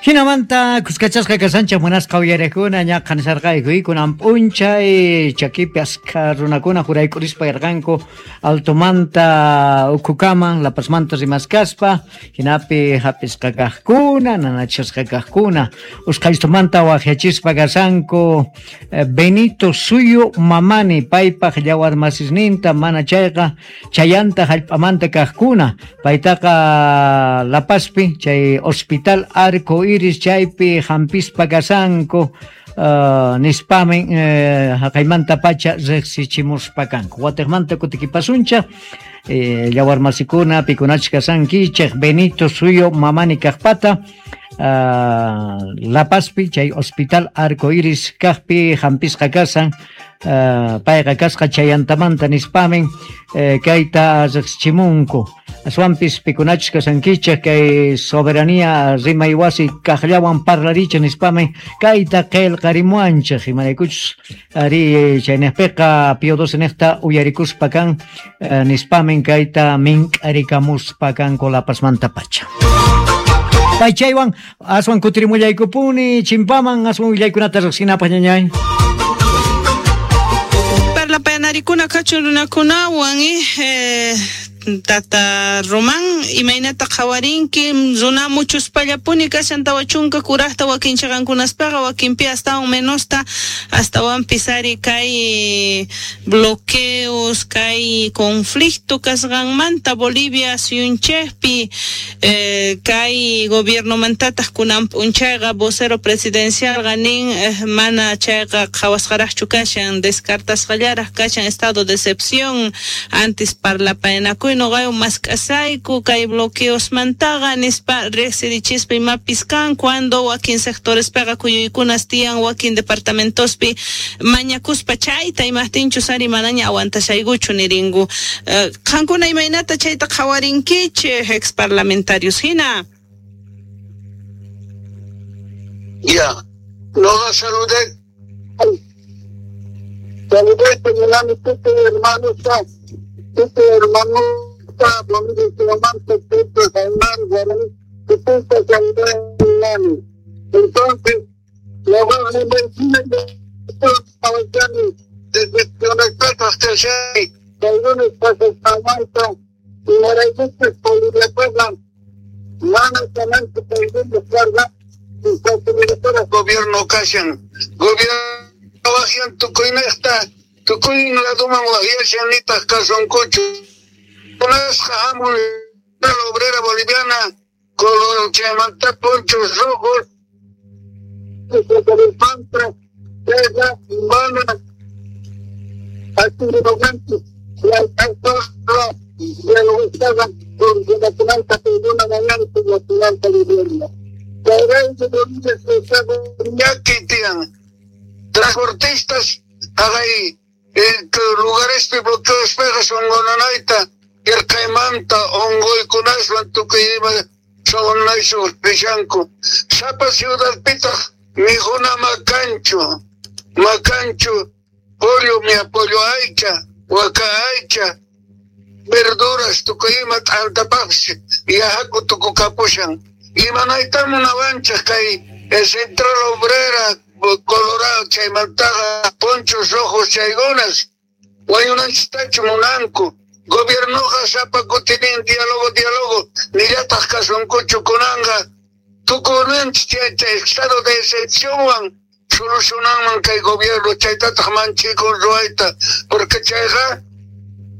Jinamanta kuskachasqa kashanchej munasqa uyarejkuna ñaqa nisharqayku kunan p'unchay chakipi askha runakuna jurayk'urispa yarqanku altomanta ukhukama La Pazmanta rimaskaspa jinapi hap'isqa kajkuna nanachisqa kajkuna usqhaystumanta wajyachispa kashanku Benito Suyu Mamani paypaj llawarmasisninta mana chayqa chayanta jallp'amanta kajkuna paytaqa La Pazpi chay Hospital Arco Iris chaypi jampispa kashanku nispamin jaqaymantapacha rejsichimuspa kanku. Watejmanta kutikipasunchej llawarmasikuna pikunachus kashankichej Benito Suyo Mamani kajpata La Pazpi chay Hospital Arco Iris kajpi jampisqa kashan payqa kasqa chayantamanta nispamin kayta rejsichimunku. Aswanpis pikunachus kashankichej kay soberanía rimay wasi kajllawan parlarichej nispamin kayta qelqarimuanchej imaraykuchus ari chaynejpeqa Pío XII nejta uyarikuspa kan nispamin kayta mink'arikamuspa kanku La Pazmantapacha. Paychaywan aswan kutirimullaykupuni chimpaman aswan willaykunata rejsinapaj ñañay. Parlapayanarikuna kachun runakunawan Tata Román, imaynata qhawarinki runa muchuspallapuni kashan 40 kurajta wakin chaqankunaspaqa wakinpi astawan menosta astawanpis ari kay bloqueos kay conflicto kasqanmanta Bolivia suyunchejpi kay gobiernomantataq kunan p'unchayqa vocero presidencialqa nin mana chayqa qhawasqaraqchu kashan descartasqallaraq kashan estado de excepción antes parlapayanakuy noqayo mask'asayku kay bloqueosmantaqa nispa rejsirichispa imapis kan cuando wakin sectorespeqa kuyuykunas tiyan wakin departamentospi mañakuspa chayta imajtinchus ari manaña aguantashaykuchu nirinku. Qankuna imaynata chayta qhawarinkichej ex parlamentarios hina. Ya, noqa saludé. Saludé munani tukuy hermanosta, tukuy hermanosta, Bolivia tukuy hermano, tukuy saludé munani. Entonces, noqa desconectadas que hay, algunos pasos imaraykuchus Boliviapaqa mana kananchu paykuna carga gobierno kashan gobierno wajyan tukuynejta tukuy laduman wajyashan nitaj kasunkuchu kunasqa hamun la obrera boliviana con chaymanta ponchos rojos mana Transportistas hay lugares bloqueos pegas ongonanaita yarqaymanta ongoykunaswan tukuy ima sonaysu rishanku sapa ciudadpitaq mikhuna makanchu makanchu pollo mi pollo aycha waka aycha verduras tukuy ima t'antapaqsi yahaku tukukapushan imanayta munawanchej kay Central Obrera Colorado chaymantaqa ponchos rojos chaykunas wañunanchistachu munanku gobiernoqa sapa kutinin diálogo diálogo nillataq kasunkuchu kunanqa tukunanchis chay estado de excepcionwan solucionanman kay gobierno chaytataq manchikun ruwayta porque chayqa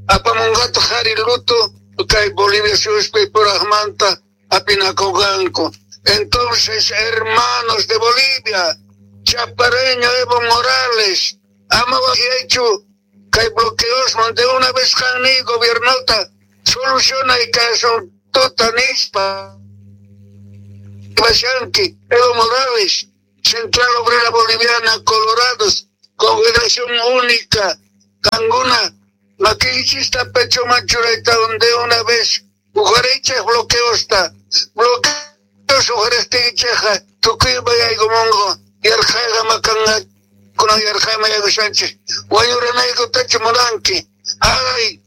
apamunqataq ari luto kay Bolivia suyuspi purajmanta apinakunqanku. Entonces, hermanos de Bolivia, Chapareño Evo Morales, ama wajyaychu kay bloqueosman de una vez qanni gobiernota soluciona y kasuntuta nispa Bashanki, Evo Morales, Central Obrera Boliviana, Colorados, Confederación Única, Canguna, makichista pecho machurayta de una vez, ujarecha bloqueosta, bloqueos ujaresticheja, tukuy bayaygumongo, yarjayga makanga, kuna yarjayma yagushanchi, wañuranayku tachu munanki, ay,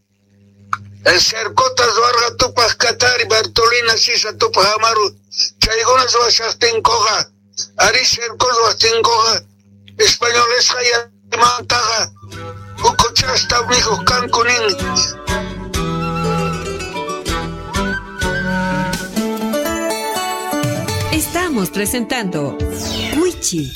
Cercota ruwarqa Tupaj Katari, Bartolina Sisa, Tupaj Amaru, chaykuna ruwashajtinkoqa, ari cerco ruwajtinkoqa, españolesqa yamantaqa ukhuchasta mikhuj kanku nin. Estamos presentando Wichi.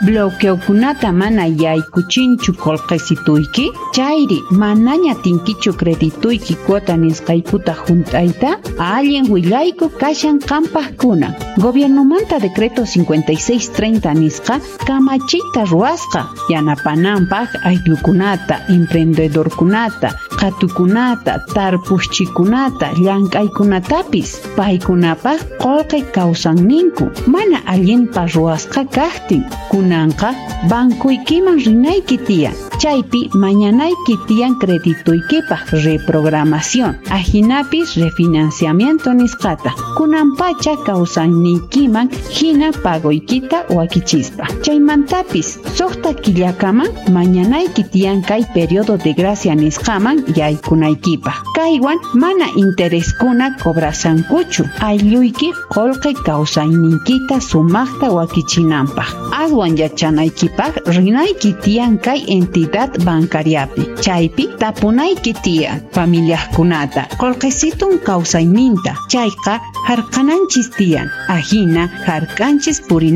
Bloqueokunata mana yaykuchinchu qullqisituyki, chayri manaña tinkichu credituyki cuota nisqaykuta junt'ayta, allin willayku kashan qampaqkuna. Gobiernomanta decreto 5630 nisqa kamachiyta ruwasqa yanapananpaq ayllukunata, emprendedorkunata, qhatukunata, tarpuqchikunata, llank'aykunatapis. Paykunapaq qullqi kawsanninku mana allinpa ruwasqa kaqtin. Kunanqa bankuykiman rinayki tiyan, chaypi mañanayki tiyan credituykipaq reprogramación, ajinapis refinanciamiento nisqata. Kunanpacha kawsayniykiman hina pagoykita wakichispa. Chaymantapis suqta killakaman mañanayki tiyan kay periodo de gracia nisqaman yaykunaykipaq. Kaywan mana intereskuna cobrasankuchu, aylluyki qullqi kawsayniykita sumaqta wakichinanpaq. Aswan yachanaykipaq rinayki tiyan kay entidad bancariapi. Chaypi tapunayki tiyan familiaqkunata, qullqisitun kawsayninta, chayqa hark'ananchis tiyan, ajina hark'anchis purinanchis.